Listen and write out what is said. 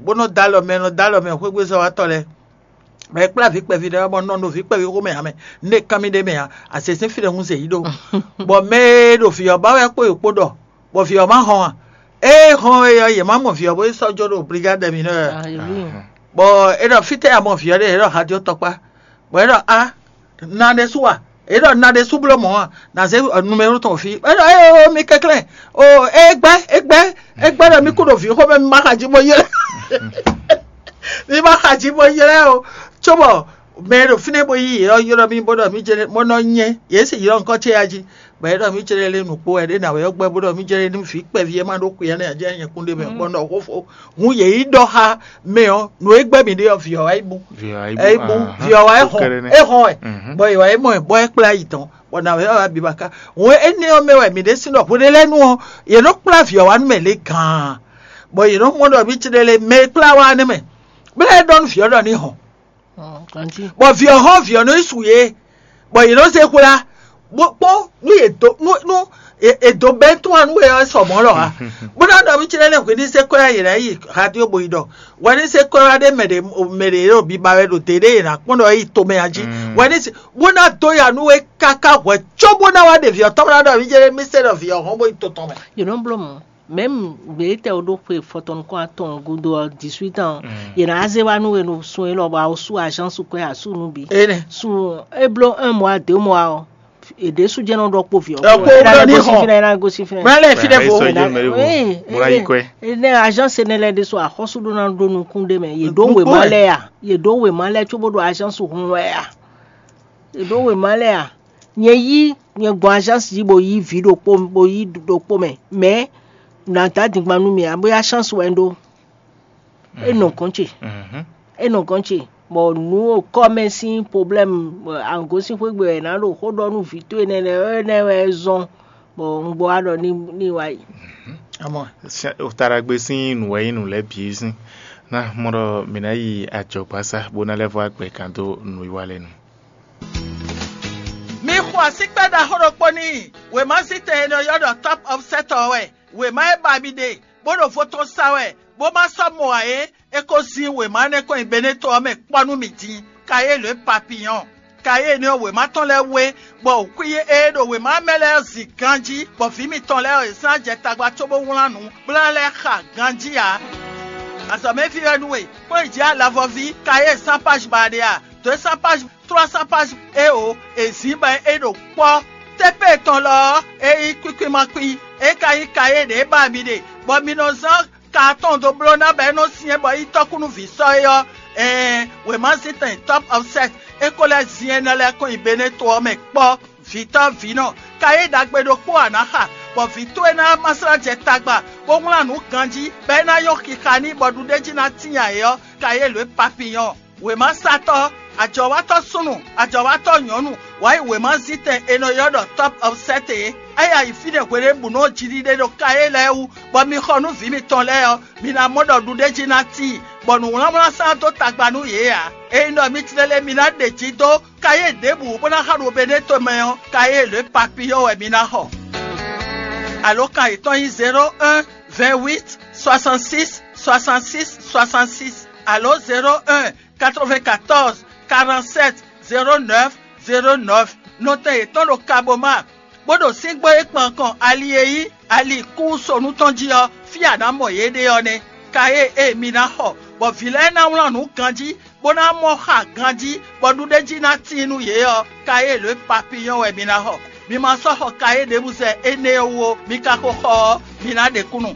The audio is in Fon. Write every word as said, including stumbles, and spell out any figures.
bó nɔ dó alɔ mɛ, nɔ dó alɔ mɛ xwégbézɔ́watɔ́ lɛ́ɛ. Mɛ e kplá vǐ kpɛví ɖé ɔ́, bɔ nɔ ɖo vǐ kpɛví xomɛ ǎ mɛ, nú è kán mì ɖ'é mɛ ǎ, azě sín fí ɖé hun zě yí ɖó. Bɔ mɛ e ɖo vǐ ɔ́ ba wɛ kpó yǒ kpó ɖɔ, bɔ vǐ ɔ́ ma hɔn a? Ée hɔn é ɔ́, yě má mɔ vǐ ɔ́ bó yi sɔ́ jó ɖo brigade mǐnɔ ɔ́. Bɔ é ɖɔ fítɛ́ a mɔ vǐ ɔ́ ɖe? É ɖɔ hadió tɔkpá. Bɔ é ɖɔ a, na ɖésú a? É ɖɔ na ɖésú bló mɔ̌ a? Na zé numero tɔn fí. É ɖɔ éyo, mi kɛnklɛ́n. O, é gbɛ́, é gbɛ́, é gbɛ́ ɖɔ mí kú ɖo vǐ xomɛ, mi ma xa jí bó ylɛ́. Mi ma xa jí bó ylɛ́ o. Cóbɔ mɛ e ɖo fínɛ́ bó yí yě ɔ́ ylɔ́ mì bó ɖɔ mì jɛ́n mɔ nɔ nyɛ, yě sì ylɔ́ nukɔn ce ya jí, bɔ é ɖɔ mì jɛ́n lé nǔkpó wɛ ɖé nǎ wɛ ɔ́ gbɛ́ bó ɖɔ mì jɛ́n lé nú vǐ kpɛví e ma ɖó kuyɛ́ nɛ́ ǎ jɛ́n nyɛ kún ɖ'é mɛ bɔ un ɖɔ xó fó. Hǔn yě yi ɖɔ xá mɛ ɔ́, nǔ e gbɛ́ mì ɖe ɔ́, vǐ ɔ́ wá yi bú. Vǐ ɔ́ wá yi bú, É bú, ahán, vǐ ɔ́ wá é hɔn, kɛɖɛ nɛ́. É hɔn wɛ, bɔ è wá yi mɔ ɛ bɔ é kplá yi tɔn, bɔ nǎ wɛ ɔ́ wá biba ká. Hǔn énɛ́ ɔ́ mɛ wɛ mǐ ɖésú ɖɔ hweɖé lɛ́ɛ nu ɔ́, yě nɔ kplá vǐ ɔ́ wá nú mɛ lě gǎn, bɔ yě nɔ mɔ ɖɔ mì ce ɖe lé mɛ e kplá wá nɛ́ mɛ, bó lɛ́ ɖɔ nú vǐ ɔ́ ɖɔ ní hɔn. Bɔ vǐ ɔ́ hɔn vǐ ɔ́ nɔ yi su yě, bɔ yě nɔ zé hwlá, bó kpɔ́n nú yě dó nú nú è dó bɛ́ tún anu e ɔ́ sɔ mɔ̌ lɔ ǎ. Bó ná ɖɔ mì ce lɛ́ɛ hwě ní zé kɔ́ yá yě ná yi radio bo yi ɖɔ, wɛ ní zé kɔ́ yá ɖé mɛ ɖě mɛ ɖě ɖo biba wɛ ɖo dě ɖé yě ná kpɔ́n ɖɔ é yi tomɛ ǎ jí. Wɛ ní zé bó ná dó ya nú é káká hwɛ̌ có bó ná wá ɖe vǐ ɔ́ tɔn bó ná ɖɔ mì ce lɛ́ɛ mì se ɖɔ vǐ ɔ́ hɔn bó yi to tɔn mɛ. Yě nɔ bló mɔ̌. Mɛ̌m gbětɛ́ ɖó xwe fɔtɔn nukɔn atɔn gúdo ɔ́, dix-huit ans, yě ná zé wá nú we ɖo sun élɔ́ bɔ a wǒ sú azǎn su kwɛ́ a sú nǔ bǐ. Énɛ́. Sun é bló un mois, deux mois ɔ́, è ɖěsu jɛ́n nɔ ɖɔ kpó vǐ ɔ́. Ɖɔ kpó É ná wúlò ní gosín hɔn. Fínɛ́, é ná gosín fínɛ́. Mɛ lɛ fi ɖe vo. Sɔ jɛ mɛ ɖe vo. Mo la yi kwɛ. Énɛ́ azǎn se nɛ lɛ ɖésú axɔ́sú ɖó ná ɖó nukún ɖé mɛ. Yě ɖó Nukún wěma wɛ. Lɛ́ɛ a? Yě ɖó wěma lɛ́ɛ cóbó ɖo azǎn su hun wɛ a? Yě ɖó wěma lɛ́ɛ a? Nyɛ yí nyɛ gbɔn azǎnsi jí bo yí vǐ ɖokpó bo yí ɖokpó mɛ, mɛ̌ nǎ dó adingban nú mì ǎ, bóyá chance wɛ un ɖó. É nɔ gɔ̌n ce, é nɔ gɔ̌n ce, bɔ nǔ kɔ́ mɛ sín problème, angǒsínxwé gbe wɛ è nǎ ɖo xó ɖɔ nú vǐ towe nɛ́ lɛ́ɛ, énɛ́ wɛ é zɔ́n, bɔ un gbɔ wá ɖɔ ní ní wá yi. Amɔ, Taɖagbe sín nǔ wɛ nyí nǔ lɛ́ɛ bǐ sín. Ná mɔ ɖɔ mǐ ná yi ajɔ̌gbásá bó ná lɛ́ vɔ́ agbɛ kan dó nǔwiwa lɛ́ɛ nu. Mi xo asíkpɛ́ ɖaxó ɖokpó n'i. Wěma zítɛn e nɔ ylɔ́ ɖɔ Top Offset ɔ́ wɛ. Wěma e ba mi ɖe, bó ɖo vo tɔn sa wɛ, bó ma sɔ́ mɔ ǎ é, é ko zín wěma énɛ́ kɔn nyi Beneto ɔ́ mɛ kpɔ́ nú mì din, Kayélu e Papiyɔ́n. Kayélu ɔ́, wěma tɔn lɛ́ɛ wé, bɔ wǔkwín e ɖo wěma mɛ lɛ́ɛ ɔ́ zin ganjí, bɔ vǐ mitɔn lɛ́ɛ ɔ́, yě sɔ́ ná jɛ tagba cóbó wlán nǔ, bó ná lɛ́ xa ganjí ǎ. Azɔ̌mɛví wɛ nú we, kpɔ́n yi jǐ alavɔví, Kayélu sán páj ba ɖe a? Dǒ e sán páj, tlɔ́ sán páj éeǒ, è zǐn bɔ é ɖo kpɔ́. Tépée tɔn lɔ ɔ́, é nyí kwíkwín ma kwín, é ka nyí Kayélu e ba mi ɖe, bɔ mi nɔ zán ka atɔn dó bló ná bɔ é nɔ syɛ́n bɔ é nyí tɔ́kúnúví sɔ́ é ɔ́, ɛɛn, wěma zíntɛn Top Offset é ko lɛ́ zin énɛ́ lɛ́ɛ kɔn nyi Beneto ɔ́ mɛ kpɔ́. Vǐtɔ́ vǐnɔ, Kayélu ɖagbe ɖokpó ǎ ná xa, bɔ vǐ towe ná ma slá jɛ tagba, bó wlán nǔ ganjí, bɔ é ná nyɔ́ xixa n'i bɔ ɖuɖéjí ná tíin ǎ é ɔ́, Kayélu e Papiyɔ́n. Wěmasatɔ́, ajɔ̌watɔ́ súnnu, ajɔ̌watɔ́ nyɔ̌nu, wǎ yi wěmazítɛn è nɔ ylɔ́ ɖɔ Top Offset é. É ya yi fínɛ́ hweɖěbǔnu ɔ́ jiɖiɖe ɖo Kayélu lɛ́ɛ wú, bɔ mi xɔ nú vǐ mitɔn lɛ́ɛ ɔ́, mi ná mɔ ɖɔ ɖuɖéjí ná tíin, bɔ nǔwlánwlán sán dó tagba nú yě ǎ. Ényí ɖɔ mi tlɛ lɛ́ɛ mi ná ɖe jǐ dó Kayélu ɖěbǔ bó ná xa ɖo Beneto mɛ ɔ́, Kayélu e Papiyɔ́n wɛ mi ná xɔ. Alǒkan yětɔn nyí zéro un, vingt-huit, soixante-six, soixante-six, soixante-six, alǒ zéro un, quatre-vingt-quatorze, quarante-sept, zéro neuf, zéro neuf. Nɔtɛn yětɔn ɖo Kaboma, bó ɖo síngbó e kpan kɔn ali e nyí ali kúnsonu tɔn jí ɔ́, fí a nǎ mɔ yě ɖe ɔ́ nɛ́. Kayélu e mi ná xɔ, bɔ vǐ lɛ́ɛ ná wlán nǔ ganjí, bó ná mɔ xa ganjí, bɔ ɖuɖéjí ná tíin nú yě ɔ́, Kayélu e Papiyɔ́n wɛ mi ná xɔ. Mi ma sɔ́ xɔ Kayélu ɖěbǔ zɛ énɛ́ ɔ́ wú ó, mi ka ko xɔ ɔ́, mi ná ɖe kúnnu.